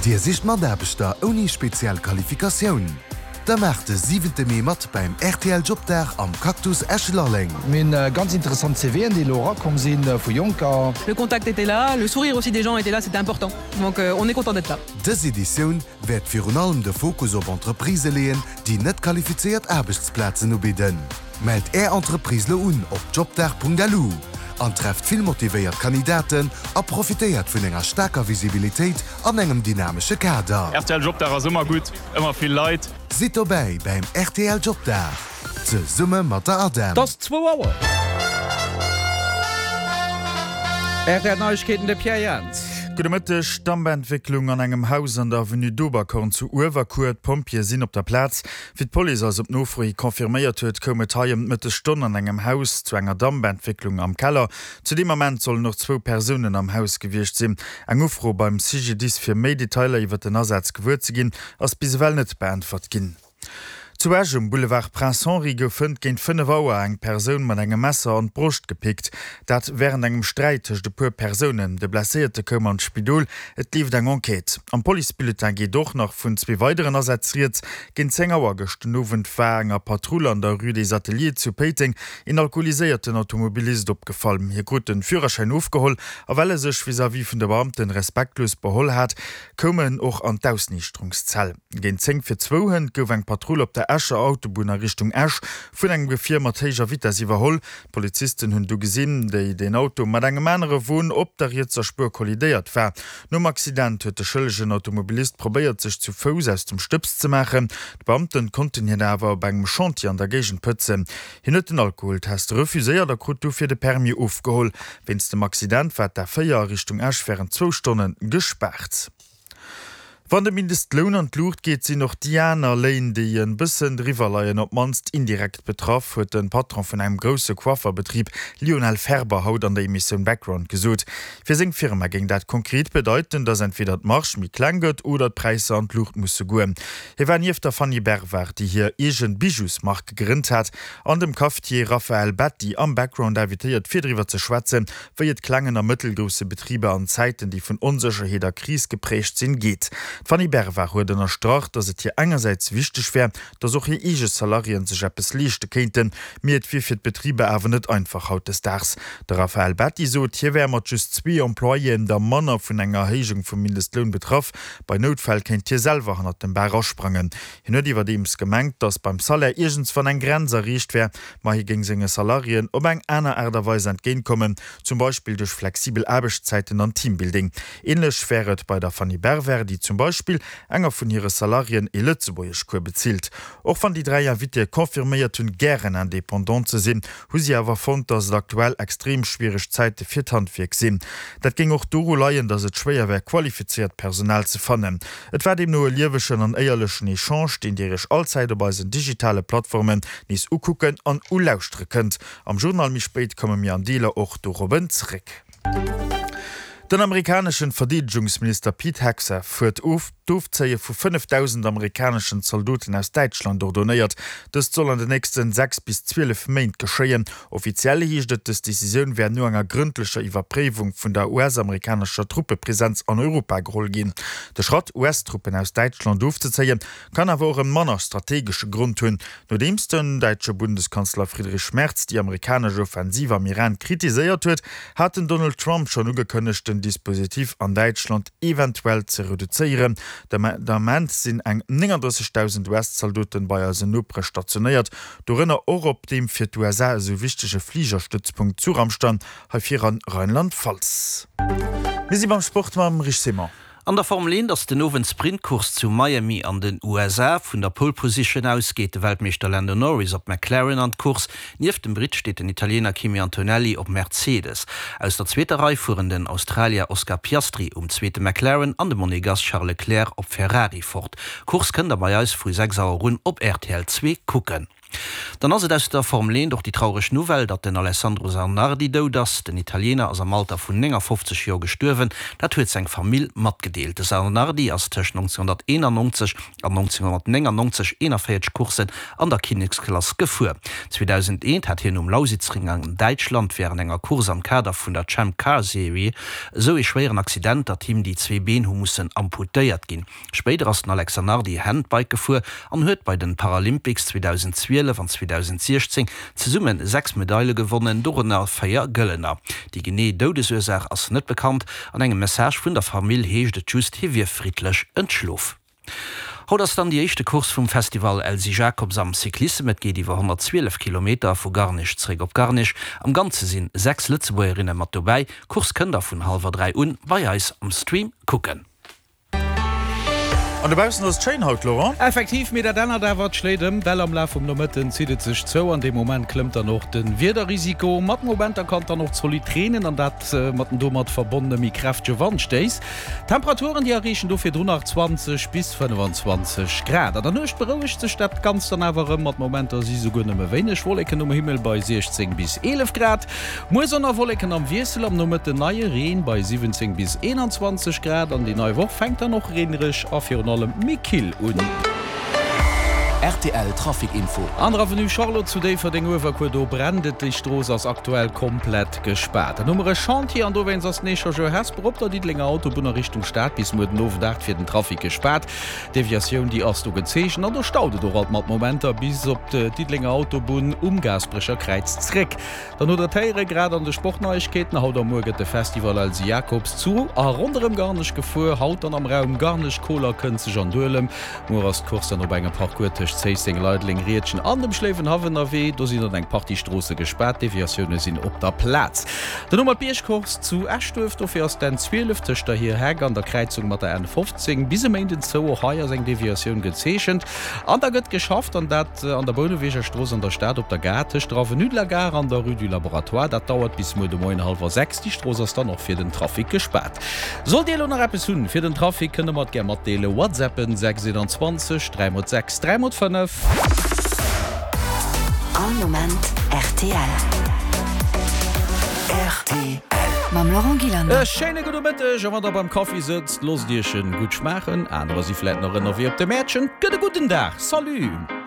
Dir sicht Mataarbechter ouni speziell Qualifikatioun? Da maacht de siwente Mee mat beim rtl Jobdag am Cactus Esch-Lalleng. Mir hunn ganz interessant CVen, déi elo erakomm si vu Jonker. Le contact était là, le sourire aussi des gens était là, c'était important. Donc on est content d'être là. Dës Editioun wäert virun allem de Fokus op Entreprisë leeën, déi net qualifizéiert Aarbechtsplazen ubidden. Mellt Är Entreprise lo un op jobdag.lu an trefft vill motivéiert Kandidaten a profitéiert vun enger staarker Visibilitéit an engem dynamesche Kader. Rtl Jobdag ass ëmmer gutt, ëmmer vill Leit. Sidd dobäi bäim rtl Jobdag, zesumme mat der ADEM. 't ass zwou Auer. Rtl Neiegkeeten, de Pierre Jans. Gudde Mëtteg. Dampentwécklung an engem Haus an der Avenue d'Oberkorn zu Uewerkuer. D'Pompjeeë sinn op der Plaz. Wéi d'Police eis op Nofro hi confirméiert huet, koum et hei ëm d'Mëttesstonn an engem Haus zu enger Dampentwécklung am Keller. Zu deem Ament sollen och zwou Persounen am Haus gewiescht sinn. Eng Ufro beim CGDIS fir méi Detailer iwwer den Asaz gewuer ze ginn, ass bis ewell net beäntwert ginn. Zu Esch um Boulevard Prince Henri gouf hënt géint 5 Auer eng Persoun mat engem Messer an d'Broscht gepickt. Dat wärend engem Sträit tëscht e puer Persounen. De Blesséierte koum an d'Spidol. Et leeft eng Enquête. Am Policebulletin geet och nach vun zwee weideren Asätz rieds. Géint 10 Auer gëscht den Owend war enger Patrull an der Rue des Ateliers zu Péiteng een alkoholiséierten Automobilist opgefall. Hie krut de Führerschäin ofgeholl a well e sech vis-à-vis vun de Beamten respektlos beholl hat, koum en och an d'Ausniichterungszell. Géint 10 vir zwou hënt gouf eng Patrull op der Escher Autobunn a Richtung Esch vun engem Gefier mat héijer Vitess iwwerholl. D'Polizisten hunn du gesinn, déi den Auto mat engem anere Won op der rietser Spuer kollidéiert war. Nom Accident huet de schëllegen Automobilist probéiert, sech zu Fouss aus dem Stëbs ze maachen. D'Beamten konnten hien awer op engem Chantier an der Géigend pëtzen. Hien huet den Alkoholtest refuséiert a krut dofir de Permis ofgeholl. Wéinst dem Accident war d'A4 a Richtung Esch wärend zwou Stonne gespaart. Wann de Mindestloun an d'Luucht geet, sinn och déi aner Léin, déi e bëssen driwwer leien, op d'mannst indirekt betraff, huet de Patron vun engem grousse Coifferbetrib Lionel Ferber haut an der Emissioun Background gesot. Fir seng Firma géing dat konkret bedeiten, datt entweder d'Marge méi kleng gëtt oder d'Präisser an d'Luucht musse goen. Hie war nieft der Fanny Bervard, déi hir eegen Bijousmark gegrënnt hat, an dem Cafetier Raphaël Betti am Background invitéiert fir driwwer ze schwätzen, wéi et klengen a mëttelgrousse Betriber an Zäiten, déi vun Onsécherheet a Kris geprägt sinn, geet. D'Fanny Bervard huet ënnerstrach, datt et hir engersäits wichteg wär, datt och hir eege Salariéen sech eppes leeschte kéinten, mee et wier fir d'Betriber awer net einfach hautdesdaags. De Raphaël Betti sot, hie wär mat just zwee Employéen der manner vun enger Erhéijung vum Mindestloun betraff. Bei Noutfäll kéint hie selwer hannert dem Bar asprangen. Hien huet iwwerdeems gemengt, datt beim Salaire iergendswann eng Grenz erreecht wär, Ma hie géing senge Salariéen op eng aner Aart a Weis entgéintkommen, zum Beispill duerch flexibel Aarbechtszäiten an Teambuilding. Änlech wär et bei der Fanny Berwer, déi zum Beispill enger vun hire Salariéen ee Lëtzebuergeschcours bezilt. Och wann déi 3 Invitéë confirméiert hunn, gären Indépendant ze sinn, hu si awer fonnt, datt et aktuell extrem schwiereg Zäite fir d'Handwierk sinn. Dat géing och doru leien, datt et schwéier wär, qualifizéiert Personal ze fannen. Et war deemno e liewegen an éierlechen Echange, deen Dir Iech allzäit op eisen digitale Plattformen nees ukucken an ulauschtere kënnt. Am Journal méi spéit komme mir an Deeler och dorobben zréck. Den amerikaneschen Verdeedegungsminister Pete Hegseth huet d'Ofzéie vu 5.000 amerikaneschen Zaldoten aus Däitschland ordonéiert. Dëst soll an de nächsten 6 bis 12 Méint geschéien. Offiziell heescht et, dës Decisioun wär no enger grëndlecher Iwwerpréiwung vun der US-amerikanescher Truppepresenz an Europa geholl ginn. De Schratt, US-Truppen aus Däitschland ofzezéien, Kann awer och e manner strategesche Grond hunn. Nodeems den däitsche Bundeskanzler Friedrich Merz déi amerikanesch Offensiv am Iran kritiséiert huet, hat den Donald Trump schonn ugekënnegt, den Dispositif an Däitschland eventuell ze reduzéieren. Den Ament sinn eng 39.000 US-Zaldoten bei eisen Nopere stationéiert, dorënner och op deem fir d'USA esou wichtege Fligerstëtzpunkt zu Ramstein, hei vir an Rheinland-Pfalz. Mir si beim Sport mam Rich Simon. An der Formel 1 ass den Owend d'Sprintcourse zu Miami an den USA. Vun der Pole Position aus geet de Weltmeeschter Lando Norris op McLaren an d'Course. Nieft dem Britt steet den Italiener Kimi Antonelli op Mercedes. Aus der zweeter Rei fueren den Australier Oscar Piastri um zweete McLaren an de Monegass Charles Leclerc op Ferrari fort. D'Course kënnt der bei eis vu 6 Auer un op rtl 2 kucken. Dann ass et aus der Formel 1 och déi traureg Nouvelle, datt den Alessandro Zanardi dout ass. Den Italiener ass am Alter vun 59 Joer gestuerwen, dat huet seng Famill matgedeelt. De Zanardi ass tëscht 1991 an 1999 41 Courssen an der Kinneksklass gefuer. 2001 hat hien um Lausitzring an Däitschland wärend enger Course am Kader vun der Champ Car Serie esou ee schwéieren Accident, datt him déi zwee Been hu mussen amputéiert ginn. Spéider ass den Alex Zanardi Handbike gefuer an huet bei den Paralympics 2012 an 2016 zesumme 6 Medaile gewonnen, dorënner 4 gëllener. Déi genee Doudesursaach ass net bekannt. An engem Message vun der Famill heescht et just, hie wier friddlech entschlof. Haut ass dann déi éischte Course vum Festival Elsy Jacobs am Cyclissem. Et geet iwwer 112 Kilometer vu Garnech zeréck op Garnech. Am Ganze sinn 6 Lëtzebuergerinne mat dobäi. D'Course kënnt der vun hallwer 3 un bei eis am Stream kucken. An dobaussen ass et schéin haut, Laurent. Effektiv, mee dat ännert awer, et schléit ëm, well am Laf vum Nomëtten zitt et sech zou. An deem Moment klëmmt dann och de Wiederrisiko. Mat Momenter kann et dann och zolidd reenen an dat mat den domat verbonnene méi kräftege Wandstéiss. D'Temperaturen, déi erreechen do virdrun nach 20 bis 25 Grad. An der Nuecht berouegt sech dat Ganzt dann awer erëm, mat Momenter si souguer nëmme wéineg Wolleken um Himmel bei 16 bis 11 Grad. Muer Sonn a Wolleken am Wiessel, am Nomëtten neie Reen bei 17 bis 21 Grad an déi nei Woch fänkt dann och reenereg a virun allem méi kill un. Rtl Trafic Info. An der Avenue Charlotte zu Déifferdeng-Uewerkuer, do brennt et. Déi Strooss ass aktuell komplett gespaart. Dann hu mer e Chantier an dowéinst ass den Echangeur Hesper op der Diddelenger Autobunn a Richtung Stad bis muer den Owend 8 fir den Trafic gespaart. D'Deviatioun déi ass do gezeechent an do staut et och alt mat Momenter bis op d'Diddelenger Autobunn um Gaasperecher Kräiz zréck. Dann hutt der d'Héiere grad an de Sportneiegkeeten. Haut a muer gëtt de Festival Elsy Jacobs zu a ronderëm Garnech gefuer. Haut dann am Raum Garnech, Koler, Kënzeg an Duelem. Muer ass d'Course dann op engem Parcours tëscht Zéisseng, Leideleng, Riedgen an dem Schléiwenhaff ënnerwee. Do sinn dann eng Partie Stroosse gespaart, Deviatioune sinn op der Plaz. Dann hu mer d'Biergcourse zu Eschduerf. Dofir ass d'N 12 tëscht der Hir Heck an der Kräizung mat der N 15 bis e Méinden zou. Och hei ass eng Deviatioun gezeechent an da gëtt geschafft an dat An der Bouneweger Strooss an der Stad op der Gare, tëscht der Avenue de la Gare an der Rue du Laboratoire. Dat dauert bis muer de Moien hallwer 6. Déi Strooss ass dann och fir den Trafic gespaart. Sollt Dir elo nach eppes hunn fir den Trafic, kënnt der mer et gär matdeelen. Whatsappen 6 21 3 mol 6 3 mol 5. All Moment rtl. Rtl. Mam Laurent Gillander. E schéine gudde Mëtteg a wann der beim Kaffi sëtzt, loosst Iech en gutt schmaachen. Anerer si vläit nach ënnerwee op de Mäertchen. Gëtt e gudden Dag. Salut!